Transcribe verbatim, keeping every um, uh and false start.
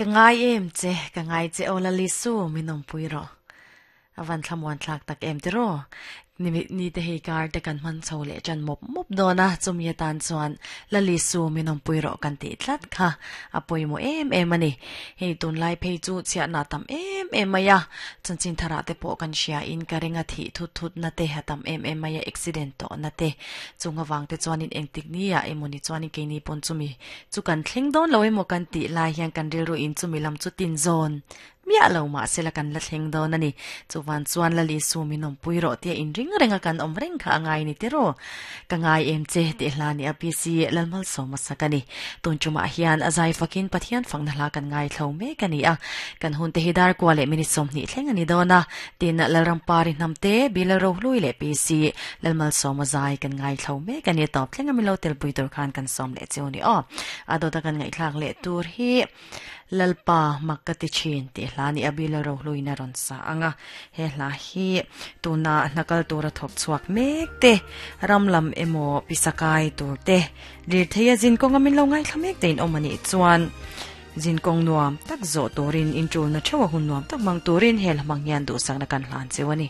Ka ngai em che, ka ngai che aw Lal Isu min awmpui rawh. A van thlamuan thlak tak em tiraw? Ni ni te hei kar te kan hman chho leh ṭan mawp mawp dawn a, chumi atan chuan Lal Isu min awmpui rawh kan tih tlat kha a pawimawh em em a ni. Hei tunlai phei chu chhiatna tam em em mai a, chanchin tharah te pawh kan hria in ka ring a thih thut thut na te a tam em em mai a, accident tawh na te chung avang te chuanin engtik ni ah emawni chuanin keini pawn chumi chu kan thleng dawn lo emaw kan tih lai hian kan rilru in chumi lam chu tin zawn miah lo mahsela kan la thleng dawn a ni. Chuvan chuan Lal Isu min awmpui rawh tia inring renga kan awm reng kha a ngai ni tiraw? Ka ngai em che tih hla ni a P C Lalmalsawma sak a ni. Tun tumah hian a zai fakin Pathian fakna hla kan ngaithlo mek a ni a. Kan hun te hi dar kua leh minute sawmhnih thleng a ni dawn a. Tin, Lalrampari hnamte, Bilal Rohlui leh P C Lalmalsawma zai kan ngaithlo mek a ni. Tawp thleng a milo telpui tur khan kan sawm leh cheu ni aw. A dawta kan ngaihthlak leh tur hi Lalpa mak ka ti thin tih hla ni a Bilal Rohluin a rawn sa ang a. He hla hi tuna hnakal tura thawk chhuak mek te, ram lam emaw pisakai tur te, lirthei a zin kawnga min lo ngaithla mek te in awm a nih chuan zin kawng nuam tak zawh turin inṭulna theuh a hun nuam tak hmang turin he hla hmang hian duhsakna kan hlan cheu a ni.